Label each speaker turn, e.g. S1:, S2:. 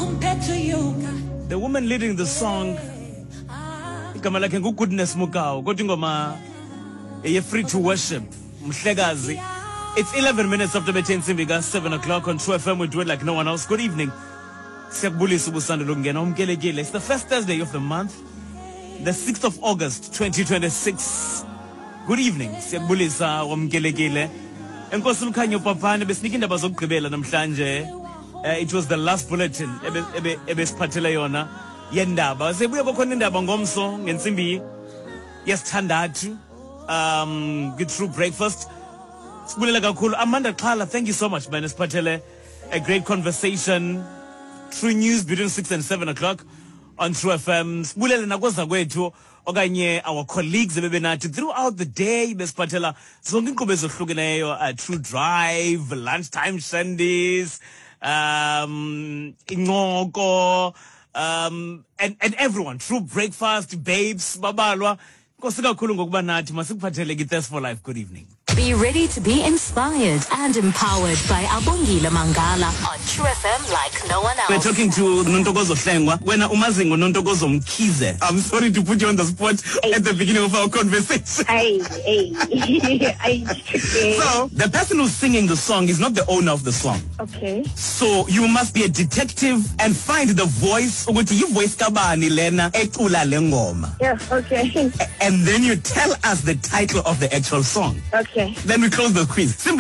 S1: compare to you, God.
S2: The woman leading the song igama lakhe nguGoodness Mukau, kodwa ingoma eye-Free to Worship, mhlekazi. It's 11 minutes after bethe intsimbi ka-7 o'clock on True FM. We do it like no one else. Good evening, siyakubulisa ubusando lokungena, umkelekile. It's the first Thursday of the month, the 6th of August 2026. Good evening, siyakubulisa, wamkelekile. Enkosi Lukhanyo Papane besinika iindaba zokugqibela namhlanje. It was the last bulletin ebesiphathele yona yendaba. Sebuya kwakhona indaba ngomso ngentsimbi yesithandathu kwi-True Breakfast. Sibulela kakhulu Amanda Xhala, thank you so much, man. Siphathele a great conversation. True News between 6 and 7 o'clock on True FM. Sibulele nakoza kwethu okanye our colleagues ebebenathi throughout the day, besiphathela zonke iinkqubo ezohlukeneyo, True Drive, Lunchtime Shandies, Incoko, and everyone, True Breakfast, Babes babalwa. Nkosi kakhulu ngokuba nathi. Masikuphathele ke for Life. Good evening.
S3: Be ready to be inspired and empowered by Abongile Mangala on True FM like no one else.
S2: We're talking to Nontokozo Hlengwa. Wena umazi ngoNontokozo Mkhize. I'm sorry to put you on the spot at the beginning of our conversation.
S4: Hey, hey. Ay, okay.
S2: So, the person who's singing the song is not the owner of the song. So, you must be a detective and find the voice, ukuthi yi-voice kabani lena ecula le ngoma.
S4: Yeah, okay.
S2: And then you tell us the title of the actual song.
S4: Okay.
S2: Then we close the quiz. Simply.